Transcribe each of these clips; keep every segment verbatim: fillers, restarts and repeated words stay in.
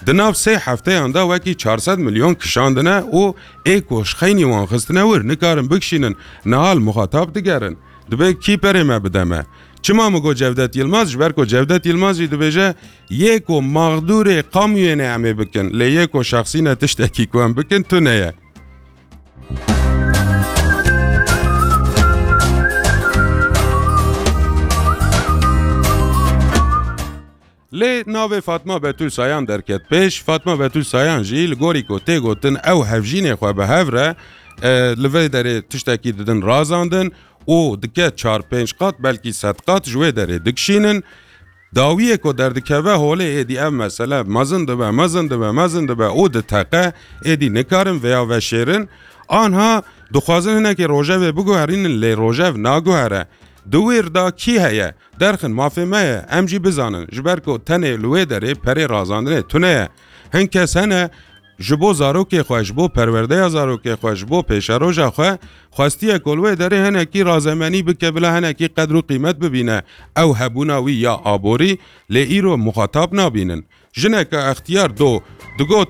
Di nav sê hefteyan de wekî çar sed milyon kişandine û ê ku ji xeynî wan xistine wir nikarin bikişînin, niha li muxatab digerin. Dibê kî perê me bide me? Çima min got Cevdet Yilmaz? Ji ber ku Cevdet Yilmaz jî dibêje, yê ku maxdûrê qamûyê ne em ê bikin, lê yê ku şexsî ne tiştekî ku em bikin, tune ye. Lê navê Fatma Betûl Sayan derket pêş. Fatma Betûl Sayan jî li gorî ku tê gotin ew hevjînê xwe bi hev re, e, li vê derê tiştekî didin razandin û dike çar pênc qat, belkî sed qat ji wê derê dikişînin. Dawiyê ku derdikeve holê êdî ev mesele mezin dibe, mezin dibe, mezin dibe û diteqe, êdî nikarin vêya veşêrin. Anha dixwazin hinekî rojevê biguherînin, lê rojev naguhere. Di wêr de kî heye? Derxin, mafê me ye, em jî bizanin, ji ber ku tenê li wê derê perê razandinê tune ye. Hin kes hene, ji bo zarokê xwe, ji bo perwerdeya zarokê xwe, ji bo pêşeroja xwe, xwestiye ku li wê derê hinekî razemenî bike, bila hinekî qedr û qîmet bibîne ew hebûna wî ya aborî, lê îro muxatab nabînin. Jineke extiyar do digot,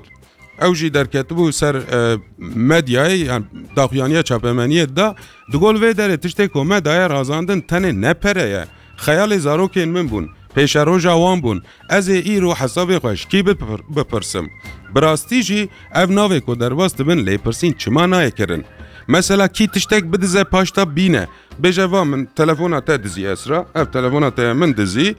ew jî derketibû ser, e, medyayê, yan daxuyaniya çapemeniyê dida, digot, li vê derê tiştê ku me daye razandin tenê ne pere ye. Xeyalê zarokên min bûn, pêşeroja wan bûn. Ez ê îro hesabê xwe ji kî bipir-, bipirsim? Bi rastî jî ev navê ku derbas dibin lêpirsîn çima nayê kirin? Mesela kî tiştek bidize paşta bîne, bêje, va min telefona te dizî Esra, ev telefona te ye min dizî,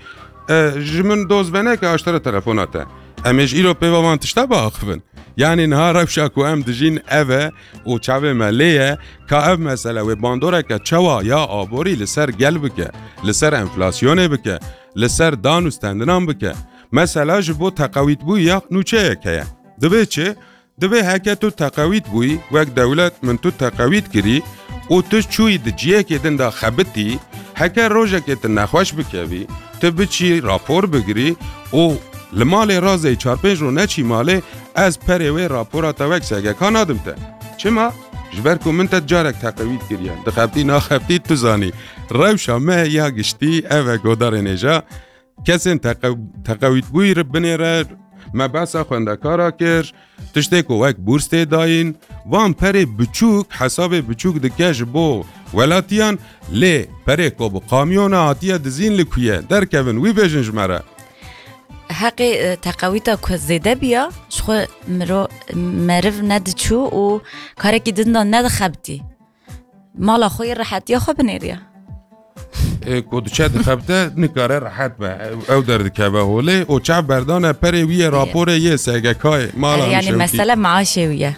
e, ji min doz veneke aştere telefona te. Em ê ji îro pê ve van tişta biaxivin. Yanî niha rewşa ku em dijîn ev e û çavê me lê ye, ka ev mesele wê bandoreke çawa ya aborî li ser gel bike, li ser enflasyonê bike, li ser dan û stendinan bike. Mesela ji bo teqewîtbûyî ya nûçeyek heye. Divê çi? Divê heke tu teqewît bûyî, wek dewlet min tu teqewît kirî û tu çûyî di ciyekê din de xebitî, heke rojekê tu nexweş bikevî, tu biçî rapor bigirî û li malê razeyî çar pênc roj neçî malê, ez perê wê rapora te wek S G K nadim te. Çima? Ji ber ku min te carek teqewît kiriye. Dixebitî naxebitî tu zanî. Rewşa me ya giştî ev e, godarên hêja. Kesên teqew-, teqewîtbûyî re binêre, me behsa xwendekara kir, tiştê ku wek bûrs tê dayîn, van perê biçûk, hesabê biçûk dike ji bo welatiyan, lê perê ku bi kamyona hatiye dizîn li ku ye, derkevin, wî bêjin ji me re. Heqê, e, teqewîta ku zêde biya, ji xwe miro-, meriv nediçû û karekî din de nedixebitî. Mala xwe yê rehetiya xwe binêriya. Ê, ku diçe dixebite, nikare rehet be. Ew, ew derdikeve holê. O çav berdane perê wî yê, raporê yê S G K'ê. Mala Erê, yanî hemşewtî. Mesele maaşê wî ye.